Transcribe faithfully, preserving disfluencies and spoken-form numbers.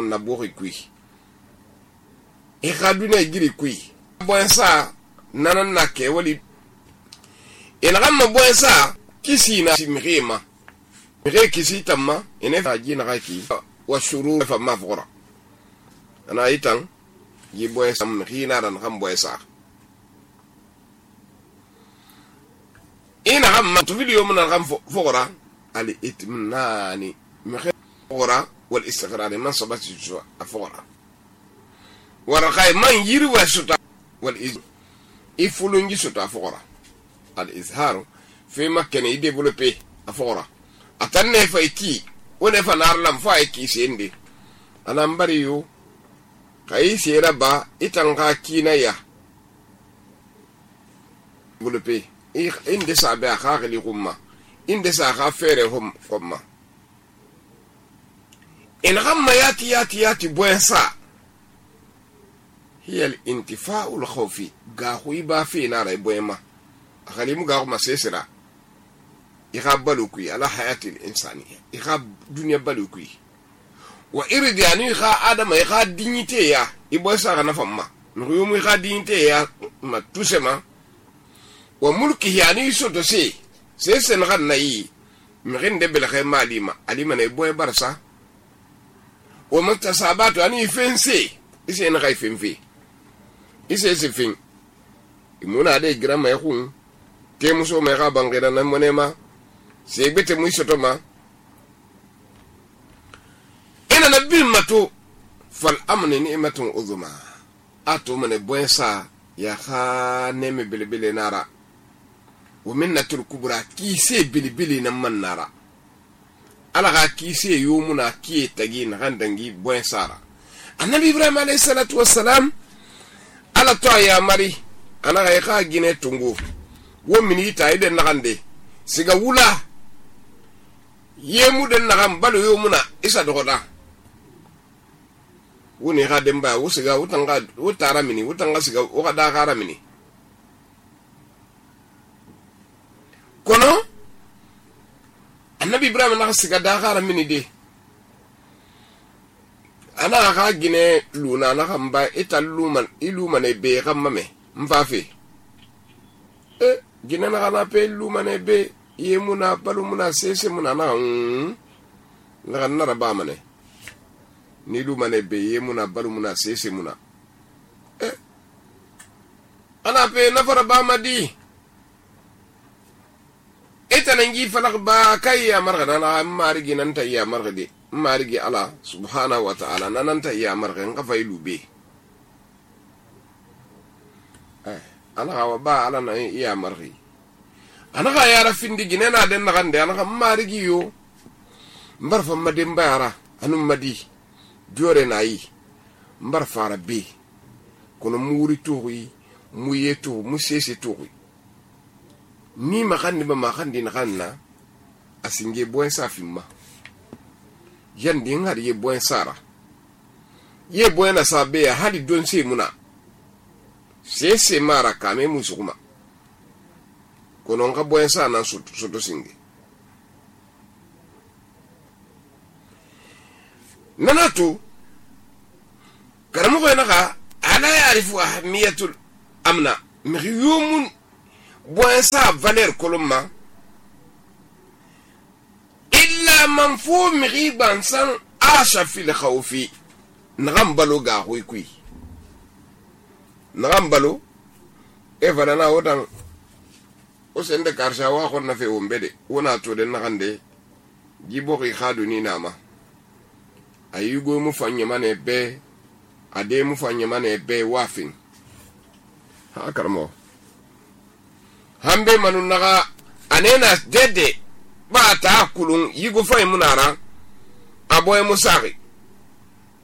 na bori kui e khaduna giri kui boensa nanan na ke wali ina gamma boensa kisi na simrima re kisi tamma ene faji na raki wa shuru fa mafqura ana itan yi boensa mrina ran kham boensa ina gamma to video mun kham foqura al itminani mkhura wal istiqrar man sabati jua afqura ورقاي من يروى ستا والإز يفلونجي ستا فقرا الإظهار في مكان يديفلوبي أفقرا أتنى فايكي ونفا نارلم فايكي سيندي أنا مبريو كاي سيرابا إتنغا كينا يا فلوبي إندي سابع خاغلي غمّا إندي ساخا فيري هم غمّا إن غمّا ياتي ياتي ياتي بوينسا هي الانتفاع الخوفي غاخوي با في نار بويما خليمو غاخو مسيسرا يخاب بالوكي على حياة الإنسانية يخاب دنيا بالوكي وإرد يعني يخا آدم يخا دينيتي يا يبوي ساغا نفما نغيوم يخا دينيتي يا ما توسما وملكه يعني يسوتو سي سيسن غن نايي مغين دبل خيما عليما عليما نيبوي برسا ومكتساباتو يعني يفنسي إسي نغاي فنفي ise sifin imuna de grama yakun ke muso me ga bangera na monema se bete mu isotoma ina nabil mato fal amni ni'matun uzma ato mane boensa ya kha neme bilibili nara wa minnatul kubra ki se bilibili na man nara ala ga ki se yumuna ki tagi na gandangi boensara annabi ibrahim alayhi salatu wassalam ala to ya mari ana ga ka gine tungu wo mini ta ide nakande siga wula yemu den nakam balu yomuna isa dogoda woni ga demba wo siga utanga utara mini utanga siga o ga da gara mini kono annabi ibrahim na siga da gara mini de ana ga gine luna na kamba ita luman iluman e be gamma me mfafe e gine na kana pe luman e be yemuna balumuna sese muna na mm na na ba mane ni luman e be yemuna balumuna sese muna e ana pe na fara ba madi ita nangi falak ba kai ya marga na margi nan ta ya marga de marigi ala subhanahu wa ta'ala nananta ya margen ka faylu be eh ana hawa ba ala na ya margi ana ga yara findi ginena den na gande ana marigi yo mbarfa madin bayara anum madi jore nayi mbarfa rabbi kono muri tuwi muyetu musese tuwi ni makandi ba makandi na kanna asinge boen safimma yandi ngari ye boen sara ye boen sabe ya hali don se muna se se mara kame musukuma kono nga boen sa na soto soto singe nanatu karamu ko naka ala yarifu ahmiyatul amna miyumun boen sa valeur kolomma illa man fu miriban san asha fil khawfi nagambalo ga hoy kui nagambalo e vanana wodan o sende karsha wa khonna fe wombede wona to den nagande jibo ri khadu ni nama ayugo mu fanye mane be ade mu fanye mane be wafin ha karmo hambe manun naga anena dede ba ta kulun yigo fay munara aboy musari